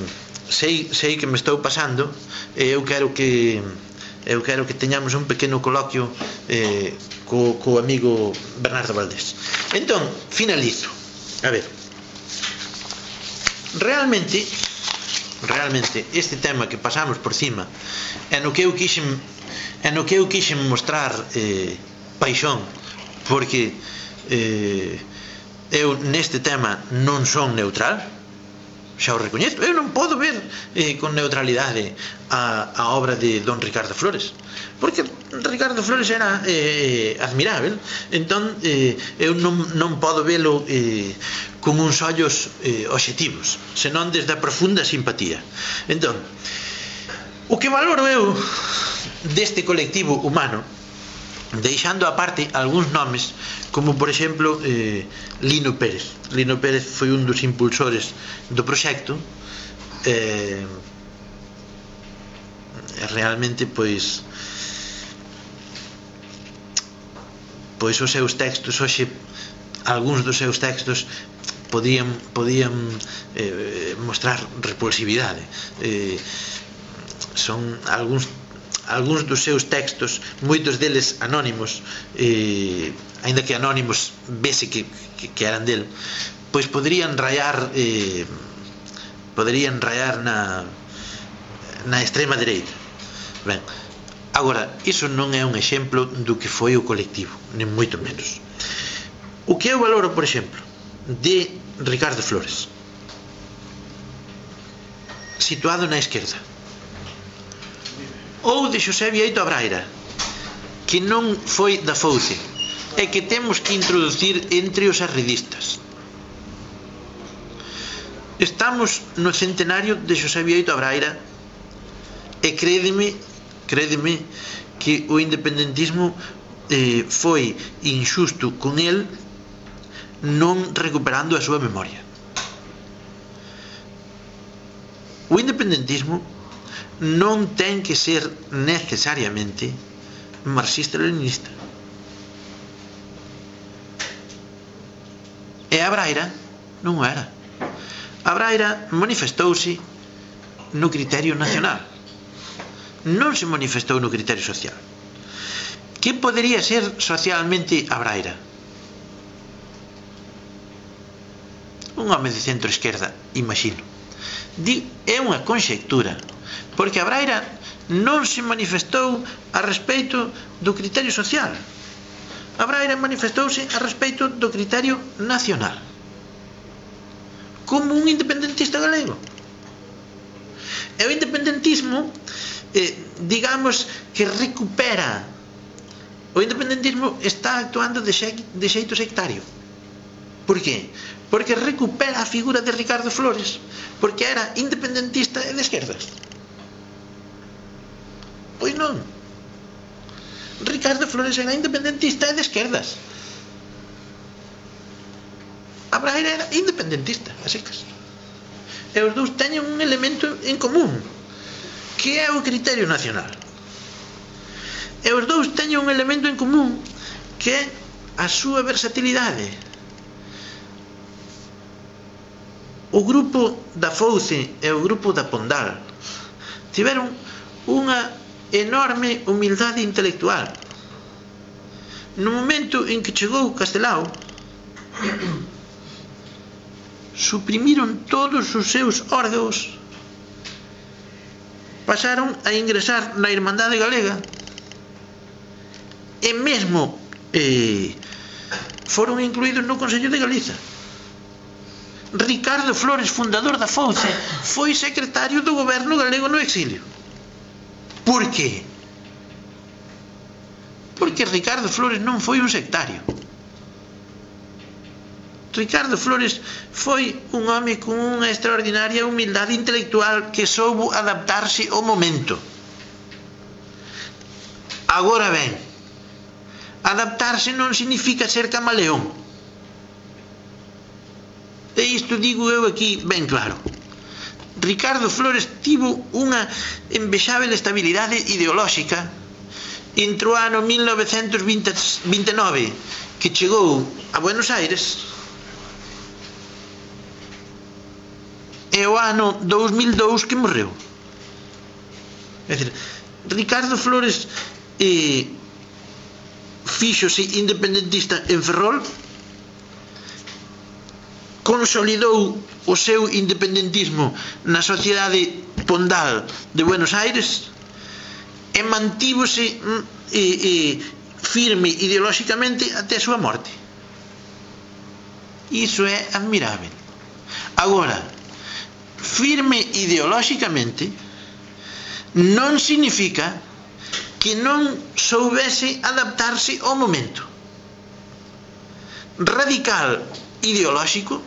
sei, sei que me estou pasando, e eu quero que eu quero que teñamos un pequeno coloquio eh, co, co amigo Bernardo Valdés. Entón, finalizo. A ver, realmente realmente este tema que pasamos por cima é no que eu quixen é no que eu quixen mostrar eh, paixón, porque eh, eu neste tema non son neutral, xa o recoñezo. Eu non podo ver eh, con neutralidade a, a obra de don Ricardo Flores, porque Ricardo Flores era eh, admirável. Entón eh, eu non, non podo velo eh, con uns ollos eh, obxectivos, senón desde a profunda simpatía. Entón, o que valoro eu deste colectivo humano, deixando aparte algúns nomes, como por exemplo eh, Lino Pérez. Lino Pérez foi un dos impulsores do proxecto, eh, realmente pois pois os seus textos hoxe, algúns dos seus textos podían, podían eh, mostrar repulsividade. eh, son algúns algúns dos seus textos, moitos deles anónimos, eh, aínda que anónimos vese que, que, que eran del, pois poderían rayar eh, poderían rayar na na extrema dereita. Ben, agora, iso non é un exemplo do que foi o colectivo, nin moito menos. O que eu valoro, por exemplo, de Ricardo Flores, situado na esquerda, ou de Xosé Bieito Abraira, que non foi da Fouce, e que temos que introducir entre os arredistas. Estamos no centenario de Xosé Bieito Abraira, e crédeme, crédeme que o independentismo eh, foi injusto con el non recuperando a súa memoria. O independentismo non ten que ser necesariamente marxista-leninista. E a Braira non o era. A Braira manifestouse no criterio nacional, non se manifestou no criterio social. Que podería ser socialmente a Braira? Un home de centro-esquerda, imagino. É unha conxectura, porque a Braira non se manifestou a respeito do criterio social. A Braira manifestouse a respeito do criterio nacional, como un independentista galego. E o independentismo, eh, digamos que recupera, o independentismo está actuando de, xe, de xeito sectario. Por qué? Porque recupera a figura de Ricardo Flores, porque era independentista e de esquerdas. Pois non. Ricardo Flores era independentista e de esquerdas. A Braira era independentista, a secas. E os dous teñen un elemento en común, que é o criterio nacional. E os dous teñen un elemento en común, que é a súa versatilidade. O grupo da Fouce e o grupo da Pondal tiveron unha enorme humildade intelectual. No momento en que chegou Castelao, suprimiron todos os seus órgãos, pasaron a ingresar na Irmandade Galega e mesmo eh, foron incluídos no Consello de Galiza. Ricardo Flores, fundador da Fouce, foi secretario do goberno galego no exilio. Por qué? Porque Ricardo Flores non foi un sectario. Ricardo Flores foi un home con unha extraordinaria humildade intelectual que soubo adaptarse ao momento. Agora ben, adaptarse non significa ser camaleón. E isto digo eu aquí ben claro. Ricardo Flores tivo unha envexável estabilidade ideolóxica entre o ano mil novecentos vinte e nove, que chegou a Buenos Aires, e o ano dous mil e dous que morreu. É dicir, Ricardo Flores eh, fíxose independentista en Ferrol, consolidou o seu independentismo na sociedade Pondal de Buenos Aires e mantívose e, e, firme ideolóxicamente até a súa morte. Iso é admirável. Agora, firme ideolóxicamente non significa que non soubese adaptarse ao momento. Radical ideolóxico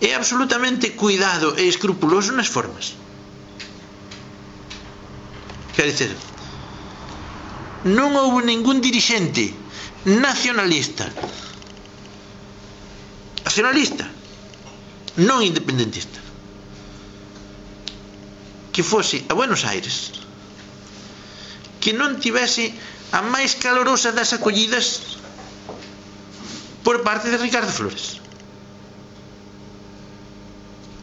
é absolutamente cuidado e escrupuloso nas formas. Quer dizer, non houve ningún dirixente nacionalista nacionalista non independentista que fose a Buenos Aires que non tivese a máis calorosa das acollidas por parte de Ricardo Flores.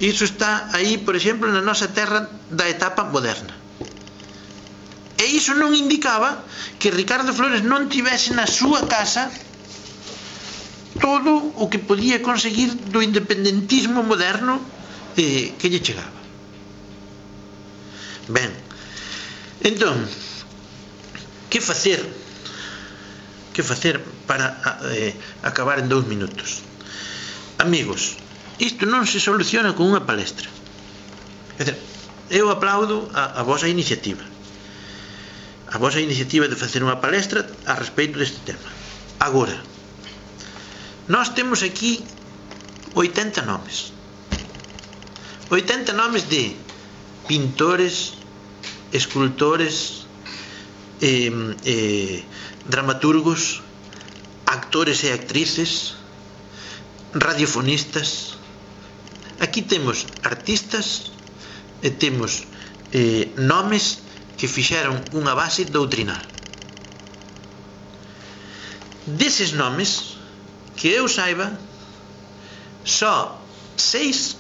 Iso está aí, por exemplo, na nosa terra da etapa moderna. E iso non indicaba que Ricardo Flores non tivese na súa casa todo o que podía conseguir do independentismo moderno eh, que lle chegaba. Ben, entón, que facer que facer para eh, acabar en dous minutos? Amigos, isto non se soluciona con unha palestra. É dizer, eu aplaudo a, a vosa iniciativa a vosa iniciativa de facer unha palestra a respeito deste tema. Agora, nós temos aquí oitenta nomes oitenta nomes de pintores, escultores, eh, eh, dramaturgos, actores e actrices, radiofonistas. Aquí temos artistas e temos eh, nomes que fixeron unha base doutrinal. Deses nomes, que eu saiba, só seis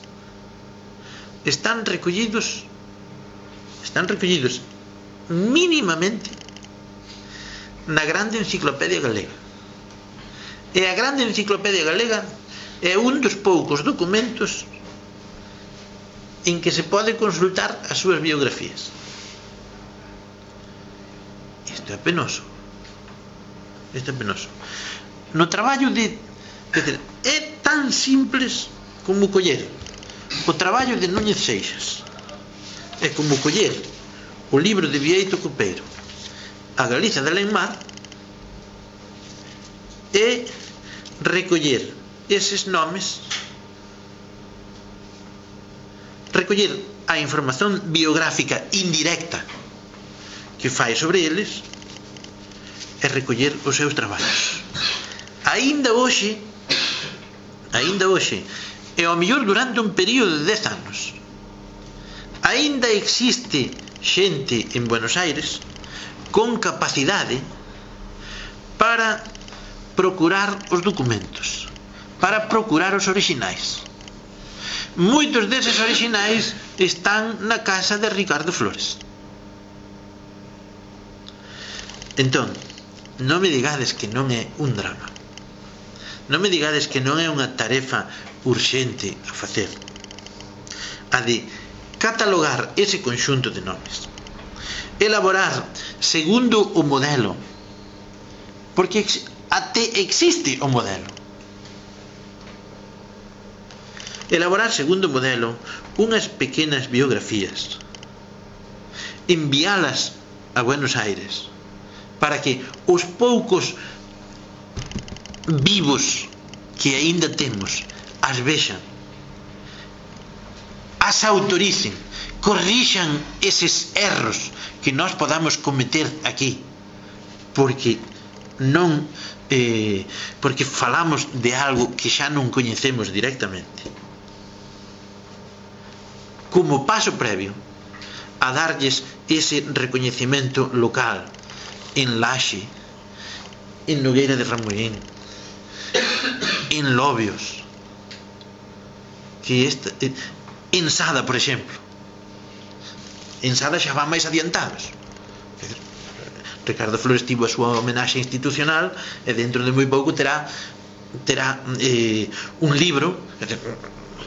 están recollidos están recollidos mínimamente na grande enciclopedia galega. E a grande enciclopedia galega é un dos poucos documentos en que se pode consultar as súas biografías. Isto é penoso. Isto é penoso. No traballo de... É tan simples como coller o traballo de Núñez Seixas. É como coller o libro de Bieito Copeiro, A Galiza de Alenmar, e recoller eses nomes, recoller a información biográfica indirecta que fai sobre eles e recoller os seus traballos. Aínda hoxe, aínda hoxe, e ao mellor durante un período de dez anos, aínda existe xente en Buenos Aires con capacidade para procurar os documentos, para procurar os orixinais. Moitos deses orixinais están na casa de Ricardo Flores. Entón, non me digades que non é un drama, non me digades que non é unha tarefa urxente a facer, a de catalogar ese conxunto de nomes, elaborar segundo o modelo, porque até existe o modelo, elaborar segundo o modelo unhas pequenas biografías, enviálas a Buenos Aires para que os poucos vivos que aínda temos as vexan, as autoricen, corrixan eses erros que nós podamos cometer aquí, porque non eh, porque falamos de algo que xa non coñecemos directamente, como paso previo a darlles ese recoñecemento local en Laxe, en Nogueira de Ramuín, en Lobios, que esta, en Sada, por exemplo. En Sada xa van máis adiantados. Ricardo Flores tivo a súa homenaxe institucional e dentro de moi pouco terá terá eh, un libro.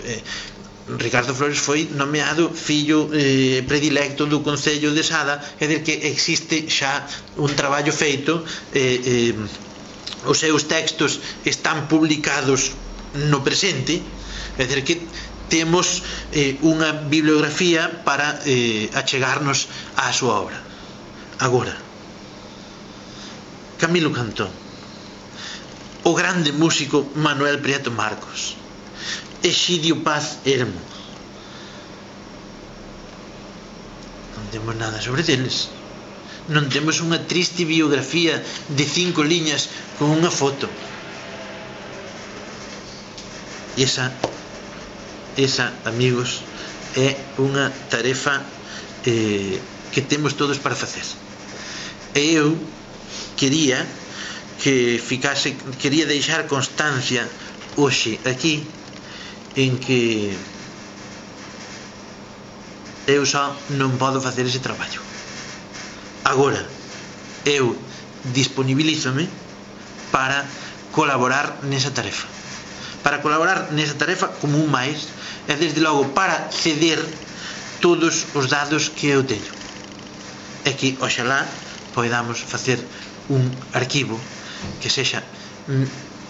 eh, Ricardo Flores foi nomeado fillo eh, predilecto do Concello de Sada, é dicir que existe xa un traballo feito eh, eh, os seus textos están publicados no presente, é dicir que temos eh, unha bibliografía para eh, achegarnos á súa obra. Agora, Camilo Cantón, o grande músico Manuel Prieto Marcos, Exidio Paz Hermo, non temos nada sobre deles. Non temos unha triste biografía de cinco liñas con unha foto. E esa, esa, amigos, é unha tarefa eh, que temos todos para facer. E eu quería que ficase, quería deixar constancia hoxe aquí en que eu só non podo facer ese traballo. Agora, eu disponibilízome para colaborar nesa tarefa. Para colaborar nesa tarefa como un máis, e desde logo para ceder todos os dados que eu teño. E que, oxalá, poidamos facer un arquivo que sexa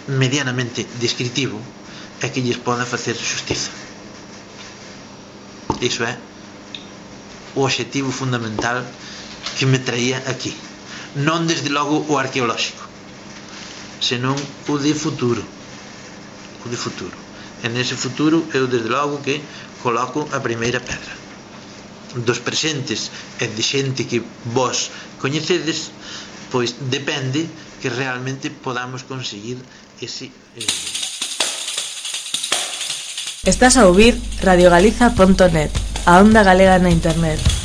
medianamente descritivo e que lles poda facer xustiza. Iso é o obxectivo fundamental que me traía aquí. Non desde logo o arqueolóxico, senón o de futuro. O de futuro. E nese futuro eu desde logo que coloco a primeira pedra. Dos presentes e de xente que vos coñecedes, pois depende que realmente podamos conseguir ese... Eh... Estás a ouvir radio galiza punto net, a onda galega na internet.